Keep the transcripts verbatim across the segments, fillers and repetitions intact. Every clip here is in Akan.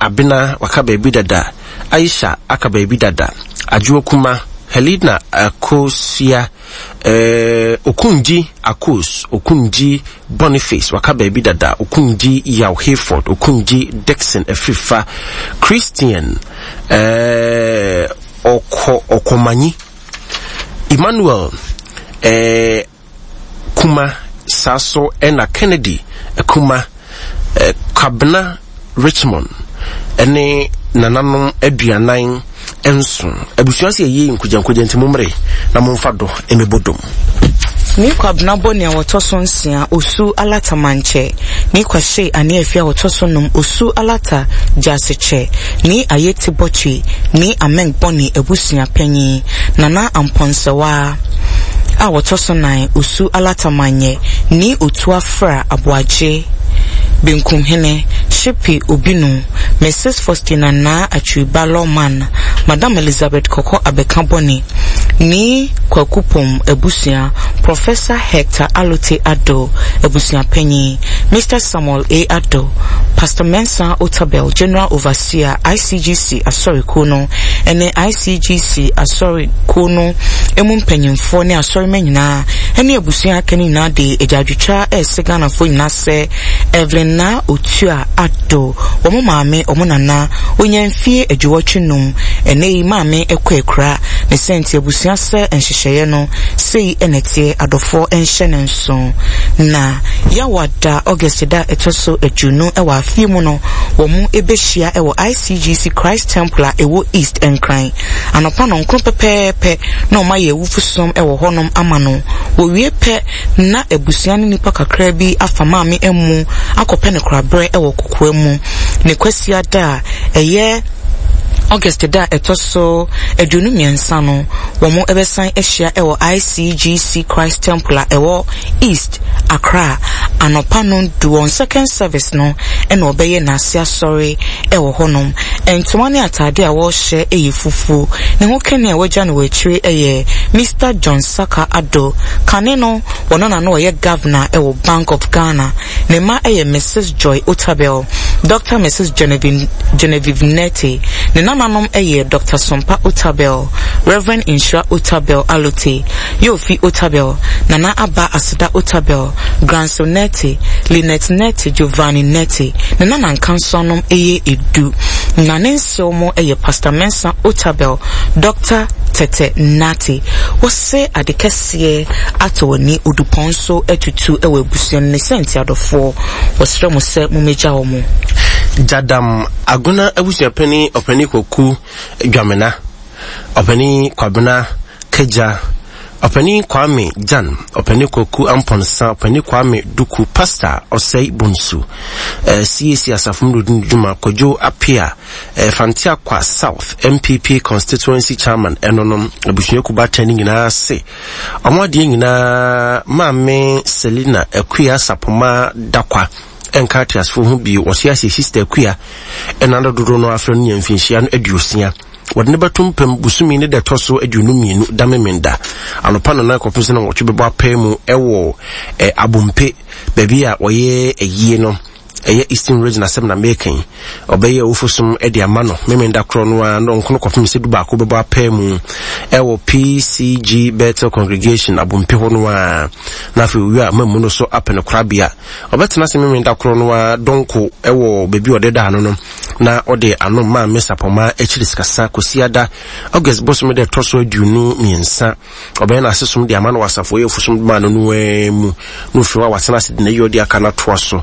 Abena waka baabi dada, Aisha aka baabi dada, Adwoa Kuma, Helena Akosua, eh, Okunji Akos, Okunji Boniface waka baabi dada, Okunji Yaw Hayford, Okunji Dixon Afrifa, Christian eh, Ɔkɔ Ɔkɔmanyi, Emmanuel eh, Kuma, saa so ɛna Kennedy Kuma, eh, Kwabena Richmond ɛne nananom aduanan nson. Abusua sɛ yɛyɛ nkogyankogya nti mommere na momfa dɔ mmɛbɔ dom. Ni Kwabena bɔ nea wɔtɔ so nsia Osu Alata Mankyɛ. Ni Kwahye ane Afie a wɔtɔ so num Osu Alata Gyasekyɛ. Ni Ayeti Bɔtwe. Ni Ameng Bɔne abusua panyin. Nana Ampɔnsɛwa a wɔtɔ so nan Osu Alata Manyɛ. Ni Otu Afra Aboagye Benkumhene Shipi Obinu, Missus Faustina Naa Atwiba Lawman, Madam Elizabeth Kɔkɔ Abɛka Bɔne, Ni Kwaku Pom abusua, Professor Hector Alote Addo abusua panyin, Mister Samuel A. Addo, Pastor Mensah Otabil, General Overseer, I C G C Asɔrekuo no ne I C G C Asɔrekuo no emu mpanyimfoɔ ne asɔremma nyinaa ne abusua aka no nyinaa de agyaadwotwa ɛrese Ghanafoɔ nyinaa sɛ Evelyn Naa Otua Addo, wɔn maame, wɔn nana, onya mfie aduɔwɔtwe num. Ɛnɛ yi maame kɔ akura ne sɛ nti abusua sɛ nhyehyɛeɛ no sei ɛna ɛteɛ. Adɔfoɔ nhyɛ ne nso na Yawada August da ɛtɔ so aduonu ɛwɔ afie mu no, wɔn ɛbɛhyia ɛwɔ I C G C Christ Temple a ɛwɔ East Nkran anɔpa no nkron pɛpɛɛpɛ na wɔn ayɛ awufosom ɛwɔ hɔnom ama no. Wɔwie pɛ na abusua ne nipa kakra bi afa maame amu akɔpɛ ne koraberɛ ɛwɔ kokoa mu. Ne kwasia da a ɛyɛ August da a ɛtɔ so aduonu mmiɛnsa no, wɔn bɛsan ahyia ɛwɔ I C G C Christ Temple a ɛwɔ East Accra anɔpa no du. Wɔn second service no ɛna ɔbɛyɛ n'ase asɔre ɛwɔ hɔnom. Ntoma ne ataade a wɔrehyɛ ɛyɛ fufuo. Ne ho kɛne a wɔagya no wɔ akyire ɛyɛ Mister John Saka Addo. Kane no wɔn na no ɔyɛ governor ɛwɔ Bank of Ghana. Ne mma ɛyɛ Missus Joy Otabil, Doctor Missus Genevieve, Genevieve Nete. Ne nananom ɛyɛ Doctor Sompa Otabil, Reverend Nhyira Otabil Alote, Yofi Otabil, Nana Aba Aseda Otabil, Granso Nete, Lynette Nete, Giovanni Nete. Ne nana nkansoanom ɛyɛ edu na ne nsew mo ɛyɛ Pastor Mensa Otabil, Doctor Tete Nate. Wɔsɛ ade kɛseɛ ato w'ani odupɔn so atutu ɛwɔ abusua no ne sɛ nti adɔfoɔ wɔsrɛ mo sɛ mommɛgya wɔ mo. Jadam Agona abusuapani, Ɔpani Kwaku Dwamena, Ɔpani Kwabena Kagya, Ɔpani Kwame Jan, Ɔpani Kwaku Ampɔnsa, Ɔpani Kwame Duku, Pastor Ɔsɛe Bonsu, eh, C A C asafo mu dodi dwuma, Kwadwo Apia, eh, Fanteakwa South N P P constituency chairman, ɛno no abusuaku batan no nyinaa se ɔmo adeɛ nyinaa Maame Selina Akua Sapoma Dakwa ɛnka ateasefoɔ ho bio. Wɔte ase Sister Akua ɛna no dodoɔ no afrɛ no nya mfinhyia no aduosia. Wɔde ne bɛto mpam busumi ne da ɛtɔ so aduonu mmienu da Memenda anɔpa nana kɔpem sɛ na wɔtwe bɛbɔ apɛ mu ɛwɔ ɛ Abompe baabi a wɔyɛ ayie no, ɛyɛ Eastern Region asɛm na mekan. Ɔbɛyɛ awufosom de ama no Memenda korɔ no a na ɔnkono kɔpem sɛ du baako bɛbɔ apɛ mu ɛwɔ P C G Bethel Congregation Abompe hɔ no a, na afei owie a mamu no so apɛ no korabea. Ɔbɛtena ase Memenda korɔ no a dɔnko ɛwɔ baabi a ɔde da ano no na ɔde ano Maame Sapɔma akyiri sikasa. Kosiada August bosome de ɛtɔ so aduonu mmiɛnsa ɔbɛyɛ n'asesom de ama no wɔ asafo ɛyɛ afusom ma no no mu na ofiri hɔ a watena ase de n'ayi ɔde aka no atoa so.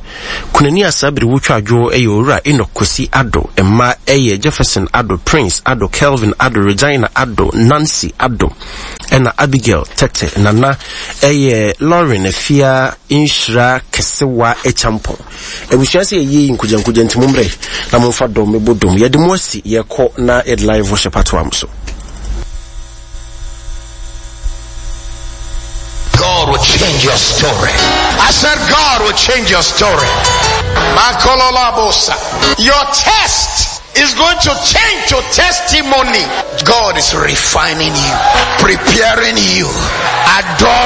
Kunani a saa bere wotwa adwo ɛyɛ Owura Enoch Kwesi Addo. Mma ɛyɛ Jefferson Addo, Prince Addo, Kelvin Addo, Regina Addo, Nancy Addo ɛna Abigail Tete. Nana ɛyɛ Lauren Afia Nhyira Kɛsewa Ekyampɔn. Abusua sɛ yɛyie nkogyankogya nti mommerɛ na momfa dɔm mɛbɔ dom. Yɛde mo asi yɛkɔ na yɛde live worship atoa mo so. God will change your story. I said God will change your story. Makololabosa. Your test is going to change to testimony. God is refining you, preparing you, adoring